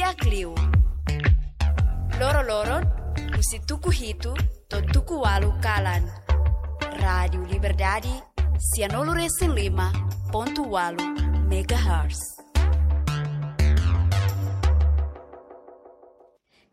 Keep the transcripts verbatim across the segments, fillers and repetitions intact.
Liu. Loro-loron, husi tuku hitu to'o tuku ualu kalan. Rádiu Liberdade, sianulu resin lima pontu ualu megahertz.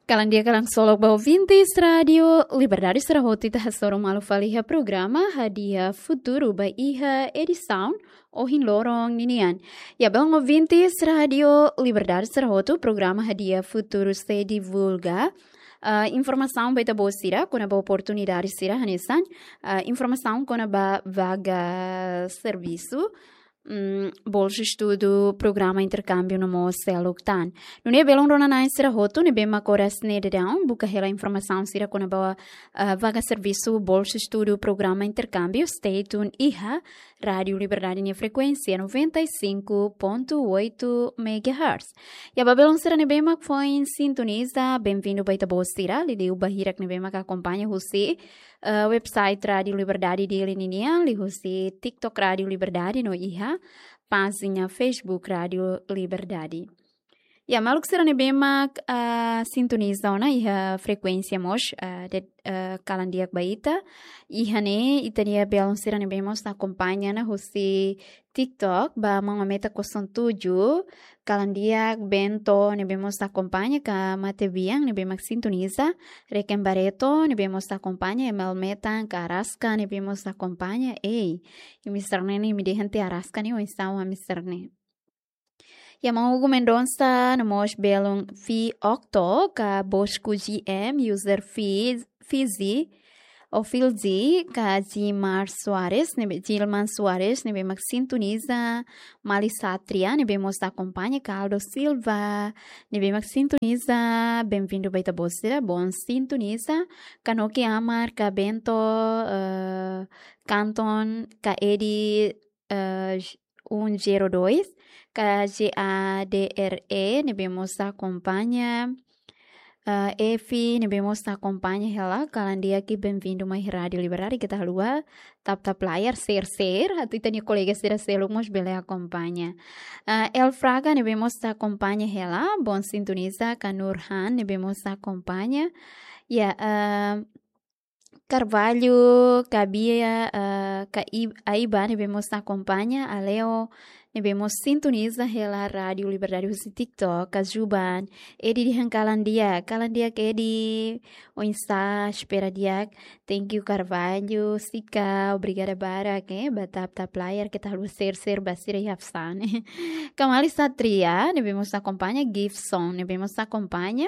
Kalan di'ak, kalan solok ba ouvintes Rádiu Liberdade sira hotu, ita hasoru malu fali iha programa Hadi'a Futuru ba iha edisaun ohin loron ninian. Ya, belun ouvintes Rádiu Liberdade sira hotu, programa Hadi'a Futuru sei divulga, ah, informasaun ba ita-boot sira kona-ba oportunidade sira hanesan, ah, informasaun kona-ba vaga servisu, mm, bolsu estudu, programa interkámbiu no mós seluk tan. Nune'e belun rona-na'in sira hotu ne'ebé mak oras ne'e daudaun buka hela informasaun sira kona-ba, ah, vaga servisu, bolsu estudu, programa interkámbiu, stay tuned iha Rádiu Liberdade nia frekuénsia noventa e cinco ponto oito megahertz. Ya, ba belun sira ne'ebé mak foin sintoniza, benvindu ba ita-boot sira, liuliu ba hirak ne'ebé mak akompaña husi, eh, website Rádiu Liberdade Dili ninian, liuhusi TikTok Rádiu Liberdade no iha pájina Facebook Rádiu Liberdade. Ya, maluk sira ne'ebé mak, ah, sintoniza ona iha frekuénsia mós, ah, de, ah, kalan di'ak ba ita. Iha ne'e, ita-nia belun sira ne'ebé mós akompaña ona husi TikTok, ba Mama Meta kosong tujuh, kalan di'ak, Bento, ne'ebé mós akompaña, ka Matebian, ne'ebé mak sintoniza, Reken Bareto, ne'ebé mós akompaña, Emel Metan, ka Araska, ne'ebé mós akompaña, ei, imi sira-ne'e ne'e imi dehan tiha Araska ne'e, oinsá ami sira-ne'e. Ya, Maun Hugo Mendonça, no mós belun Fi Octo, ka Bosco G M, user Fi-, Fizi, ou Filzi, ka Gilmar Soares, ne'ebé, Gilman Soares, ne'ebé mak sintoniza, Mali Satria, ne'ebé mós akompaña, Caldo Silva, ne'ebé mak sintoniza, benvindu ba ita-boot sira, bom sintoniza, ka Noki Amar, ka Bento, eh, Kanton, ka Edi, eh, um zero dois, ka J A D R E, ne'ebé mós akompaña, eh, Efi, ne'ebé mós akompaña hela, kalan di'ak i benvindu mai Rádiu Liberdade, keta haluha tap-tap layar, share, share, atu ita-nia kolega sira seluk mós bele akompaña. Eh, El Fraga, ne'ebé mós akompaña hela, bom sintoniza, ka Nurhan, ne'ebé mós akompaña. Ya, eh, Carvalho, ka Bia, eh, ka I-, Aiba, ne'ebé mós akompaña, Aleo, ne'ebé mós sintoniza hela Rádiu Liberdade husi TikTok, ka Juban, Edi dehan kalan di'ak, kalan di'ak Edi, oinsá, espera di'ak, thank you Carvalho, Sika, obrigada barak, eh, ba tap-tap layar, keta haluha share, share, ba sira iha fsane. Ka Mali Satria, ne'ebé mós akompaña, Gifson, ne'ebé mós akompaña,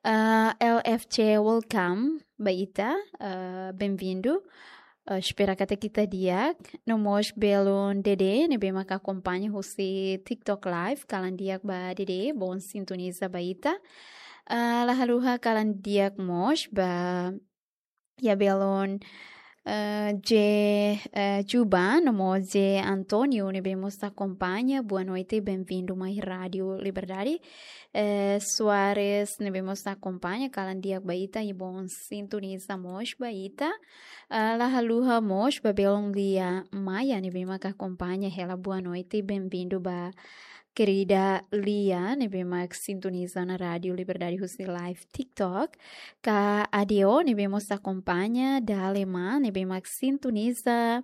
ah, L F C, welcome ba ita, ah, benvindu. Ah, espera katak ita di'ak. No mós belun Dede, ne'ebé mak akompaña husi TikTok Live, kalan di'ak ba Dede, bom sintoniza ba ita. Ah, la haluha kalan di'ak mós ba, ya, belun, eh, J, eh, Juba, no mós J António, ne'ebé mós akompaña, boa noite, benvindu mai Rádiu Liberdade. Eh, Soares, ne'ebé mós akompaña, kalan di'ak ba ita, i bom sintoniza mós ba ita. Ah, la haluha mós ba belun Lia Maia, ne'ebé mak akompaña hela, boa noite, benvindu ba kerida Lia, ne'ebé mak sintoniza ona Rádiu Liberdade husi live TikTok. Ka Adeo, ne'ebé mós akompaña, Dalema, ne'ebé mak sintoniza,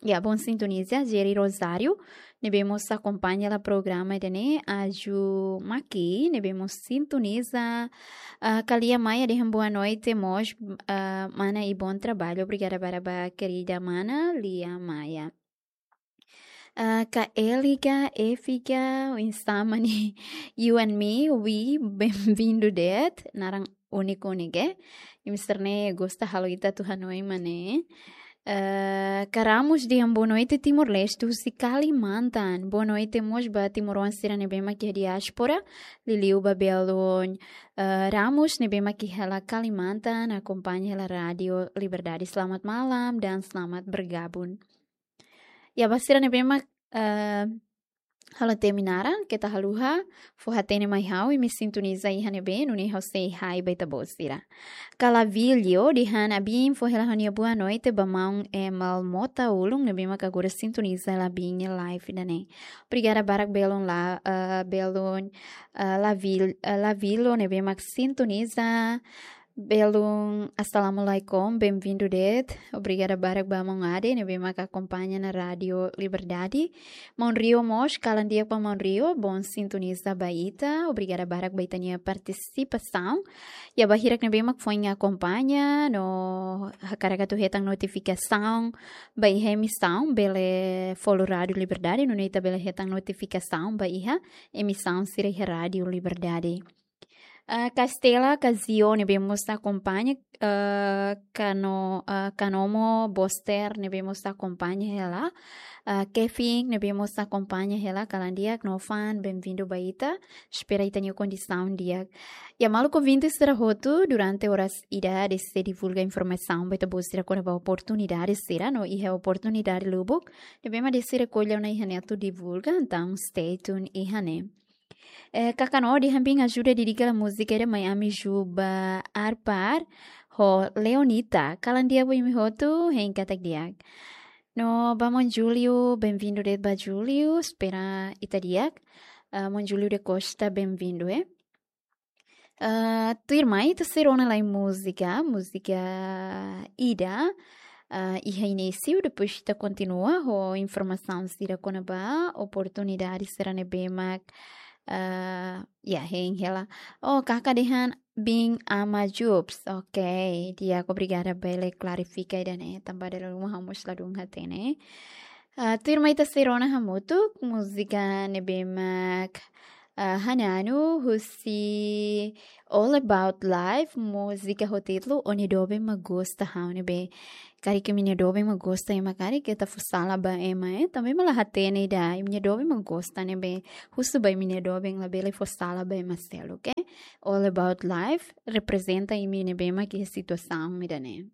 ya, bom sintoniza, Jerry Rosário, ne'ebé mós akompaña hela programa ida-ne'e, Aju Maki, ne'ebé mós sintoniza, ah, ka Lia Maia dehan boa noite mós, ah, mana i bom trabalho, obrigada barak ba kerida mana, Lia Maia. Ah, ka Eliga, Efiga, oinsá mak ne'e, you and me, we, benvindu de'it, naran úniku ne'e, imi sira-ne'e gosta halo ita atu hanoin mak ne'e. Eh, ka Ramos dehan boa noite Timor-Leste, husi Kalimantan. Boa noite mós ba timoroan sira ne'ebé mak iha diáspora, liuliu ba belun, eh, Ramos ne'ebé mak iha hela Kalimantan, akompaña hela Rádiu Liberdade. Selamat malam dan selamat bergabung. Ya, ba sira ne'ebé mak, eh, Halo temi naran, keta haluha fó hatene mai ha'u, imi sintoniza iha ne'ebé, nune'e ha'u sei hai ba ita-boot sira. Kalavilho dehan: abin, fó hela ha'u-nia boa noite ba maun Emal Mota Ulun, ne'ebé mak agora sintoniza hela abin nia live ida-ne'e. Obrigada barak belun la, eh, belun, eh, Lavil-, eh, Lavilo, ne'ebé mak sintoniza. Belun, assalamualaikum, bem-vindo de'it. Obrigada barak ba maun Ade, ne'ebé mak akompaña ona Rádio Liberdade. Maun Rio mós, kalan di'ak ba maun Rio, bom sintoniza ba ita. Obrigada barak ba ita-nia partisipasaun. Iha bainhira ne'ebé mak foin akompaña, no hakarak atu hetan notifikasaun ba iha emisaun, bele follow Rádio Liberdade, nune'e ita bele hetan notifikasaun ba iha emisaun sira iha Rádio Liberdade. Ah, Castela Casio ne'ebé mós akompaña, ah, Cano-, ah, Canomo Boster ne'ebé mós akompaña hela, ah, Kevin ne'ebé mós akompaña hela, kalan di'ak, no fan, bem-vindo ba ita. Espera ita-nia kondisaun di'ak. Iha maluk ouvinte sira hotu, durante oras ida-ne'e sei divulga informasaun ba ita-boot sira kona-ba oportunidade sira, no iha oportunidade lubuk ne'ebé mak de'it sira ko'alia ona iha ne'e atu divulga, entaun stay tuned iha ne'e. Eh, Kakano dehan: abin, ajuda dedika hela múzika ida Miami Juba Arpar ho Leonita. Kalan di'ak ba imi hotu, hein katak di'ak. No ba maun Júlio, bem-vindo de'it ba Júlio, espera ita di'ak. Ah, maun Júlio da Costa, bem-vindo, eh. Ah, tuirmai ita sei rona lai múzika, múzika ida, ah, iha inísiu, depois ita kontinua ho informasaun sira kona-ba oportunidade sira ne'ebé mak, ah, ya, hein hela. Oh, Kaka dehan: bin, ama Jubs. Ok, di'ak, obrigada, bele klarifika ida-ne'e, tanba dala ruma ha'u mós ladún hatene. Ah, tuirmai ita sei rona hamutuk múzika ne'ebé mak, ah, hananu husi All About Life, múzika ho títulu Ó-nia Doben Mak Gosta Ha'u, ne'ebé karik imi-nia doben mak gosta ema karik, keta fó sala ba ema, eh, tanba ema la hatene ida, imi-nia doben mak gosta, ne'ebé husu ba imi-nia doben, labele fó sala ba ema seluk, eh. All About Life reprezenta imi ne'ebé mak iha situasaun ida-ne'e.